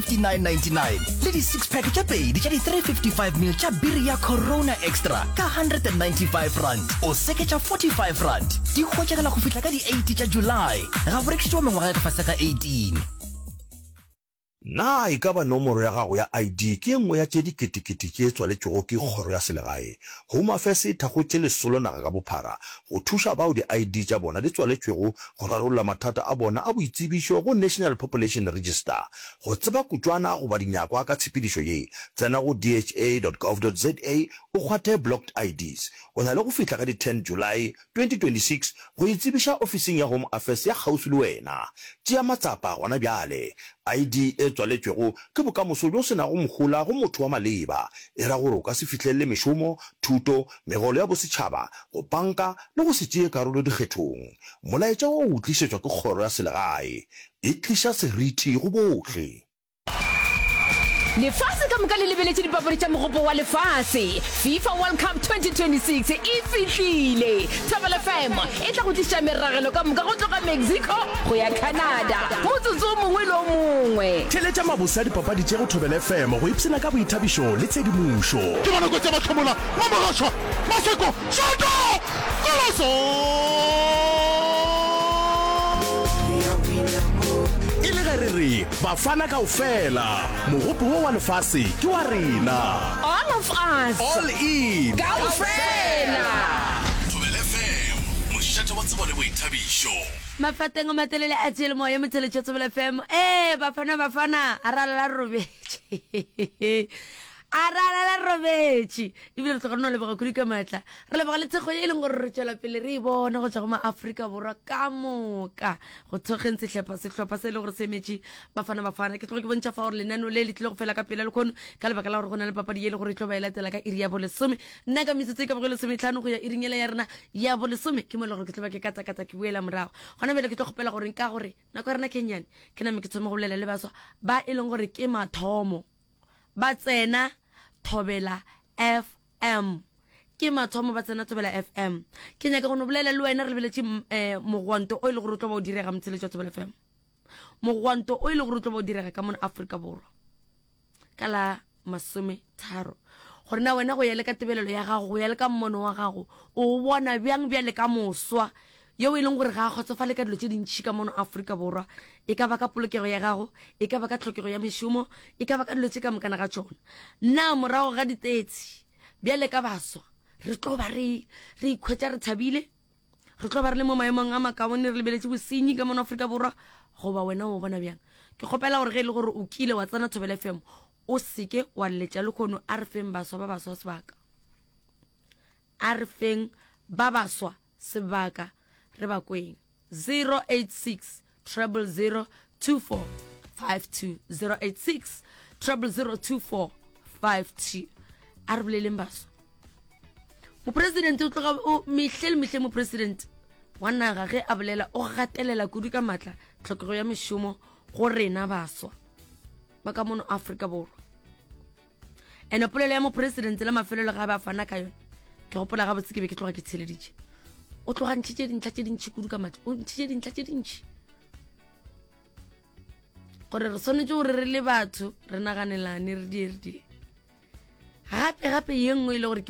59.99 le di-six pack tše pedi tša di-355 ml tša biri ya Corona Extra ka R195 o seketša R45. Di hwetšagala go fihla ka di-8 tša July. Ga bo rekišetšwa mengwaga ya ka fase ga 18. Na e ka ba nomoro ya gago ya ID ke e nngwe ya tše diketekete tše tswaletšwego ke Kgoro ya Selegae? Home Affairs e thakgotše lesolo naga ka bophara go thuša bao di-ID tša bona di tswaletšwego go rarolla mathata a bona a boitsebišo go National Population Register. Go tseba kutšwana goba dinyakwa ka tshepedišo ye, tsena go dha.gov.za o kgwathe Blocked IDs. O na le go fihla ka di 10 July 2026 go itsebiša ofising ya Home Affairs ya kgauswi le wena. Tšea matsapa gona bjale. ID e tswaletšwego ke bokamoso bjo se nago mohola go motho wa maleba. E ra gore o ka se fihlelele mešomo, thuto, megolo ya bosetšhaba, go panka le go se tšee karolo dikgethong. Molaetša wo o tlišetšwa ke Kgoro ya Selegae. E tliša seriti go bohle. Lefase ka moka le lebeletše dipapadi tša Mogopo wa Lefase. FIFA World Cup 2026 e fihlile! Thobela FM e tla go tliša meragelo ka moka go tloga Mexico go ya Canada motsotso o mongwe le o mongwe. Theeletša mabose a dipapadi tše go Thobela FM go ipshina ka boithabišo le tshedimošo. Ke bona kotsi ya Mahlomola, Mamogošwa, Maseko, Šoto! Goloso! E le ge re re Bafana kaofela, mogopo wo wa lefase ke wa rena. All of us. All in. Kaofela. Thobela FM, mošate wa tsebo le boithabišo. Mafateng a matelele a tšele moya motheletšo Thobela FM. Ee, Bafana Bafana, a ra lala robetše. A ra lala robetše. Ebile re tloga re no leboga kudu ka maatla. Re leboga le thekgo ye e leng gore re tšwela pele re e bona go tšwa go maAfrika Borwa ka moka. Go thokgeng sehlepha sehlopha se e le gore se emetše Bafana Bafana. Ke tloga ke bontšha fa gore lenaneo le le tlile go fela ka pela lekhono ka lebaka la gore go na le papadi ye e le gore e tlo ba e latela ka iri ya bolesome. Nna ka metsotso e ka bago lesometlhano go ya iring yela ya rena ya bolesome ke mo e le gore ke tlo ba ke katakata ke boela morago. Gona bjale ke tlo kgopela gore ka gore nako ya rena ke nnyane ke name ke thome go bolela le baswa ba e leng gore ke mathomo ba tsena Thobela FM. Ke mathomo ba tsena Thobela FM. Ke nyaka go no bolela le wena re lebeletše um mogwanto o e le gore o tlo ba o direga motsheletši wa Thobela FM. Mogwanto o e le gore o tlo ba o direga ka mona Afrika Borwa ka la masometharo. Gore na wena go ya le ka tebelelo ya gago, go ya le ka mmono wa gago, o bona bjang bjale ka moswa yeo e leng gore ga a kgotsofale ka dilo tše dintšhi ka mono Afrika Borwa, e ka ba ka polokego ya gago, e ka ba ka tlhokego ya mešomo, e ka ba ka dilo tše ka mokana ga tšona. Na morago ga ditetsi bjale ka baswa re tlo ba re re ikhwetša re thabile, re tlo ba re le mo maemong a makaone re lebeletše bosenyi ka mono Afrika Borwa, goba wena o bona bjang? Ke kgopela gore ge e le gore o kile wa tsena Thobela FM o seke wa lletša lekhono, a re feng baswa ba baswa sebaka, a re feng ba baswa sebaka re ba kweng 086 000 2452 086 000 2452 a re boleleng baswa mopresidente o tloga o mehle le mehle mopresidente wa naga ge a bolela o gatelela kudu ka maatla tlhokego ya mešomo go rena baswa ba ka mono Afrika Borwa Ene polelo ya mopresidente la mafelelo ga ba fana ka yone ke gopola gabotse ke be ke tloga ke tsheleditše o tloga ntšhitše dintlha tše dintšhi kudu ka matla o ntšhitše dintlha tše dintšhi gore re swanetše gore re le batho re naganelane re die re die gape gape ye nngwe e le gore ke.